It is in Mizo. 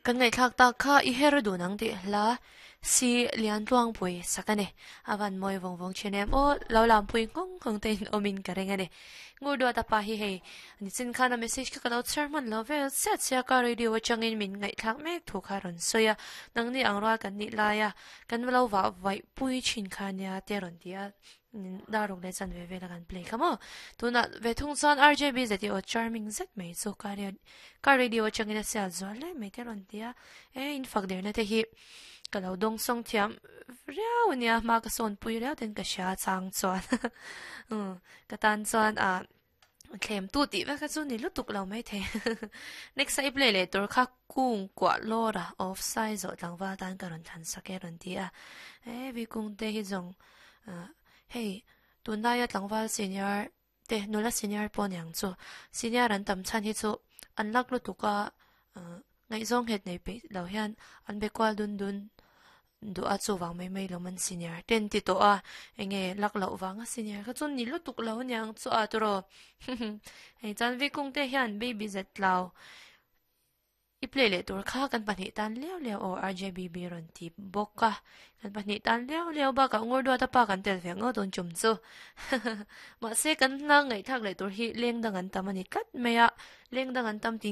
Kan ngaihthlak tak kha i her dun ang tih hla si lian tluangpui sak a ni. A van mawi vawng vawng thin em aw, lo lampui nghawng nghawng te in awmin ka ring a ni. Ngur duat a pa hi hei nichin khan a message kha ka lo chhiar hman lo vel chiah chiah ka radio atangin min ngaihthlak mek thu kha a rawn sawi a, nangni ang rual kan nih laia kan lo vah vaih pui thin kha nia te a rawn ti a. Dar ruk leh chanve vela kan play kha maw. Tunah ve thung chuan RJB zet i aw charming zet mai chu ka ka radio atangin a sial zual hle mai te a rawn ti a. E in fak derna te hi ka lo dawng sawng thiam riau a nia hma ka sawn pui riau ten ka hria chang chuan ka tan chuan ah Thlem tu tih vek kha chu ni lutuk lo mai thei. Next a i play leh tur kha kung kuah lawr a off sai zawh tlangval tan ka rawn thlan sak e rawn ti a. E vi kung te hi zawng hei tunlaia tlangval senior te nula senior pawh niang chu senior an tam chhan hi chu an lak lutuk a ngaihzawng nghet nei peih lo hian an be kual dun dun Duh a chuvang mai mai lo man senior ten ti tawh a, enge lak loh vang a senior kha chu ni lutuk lo aniang chu a tawrh aw. Hei chuan Vikung te hian baby zet tlau i play leh tur kha kan pahnih tan liau liau aw RJBB rawn ti bawk a, kan pahnih tan liau liau bakah Ngurduata pa kan tel ve ngawt dawn chum chu. Mahse kan hla ngaihthlak leh tur hi leng dang an tam a ni tlat mai a, leng dang an tam tin.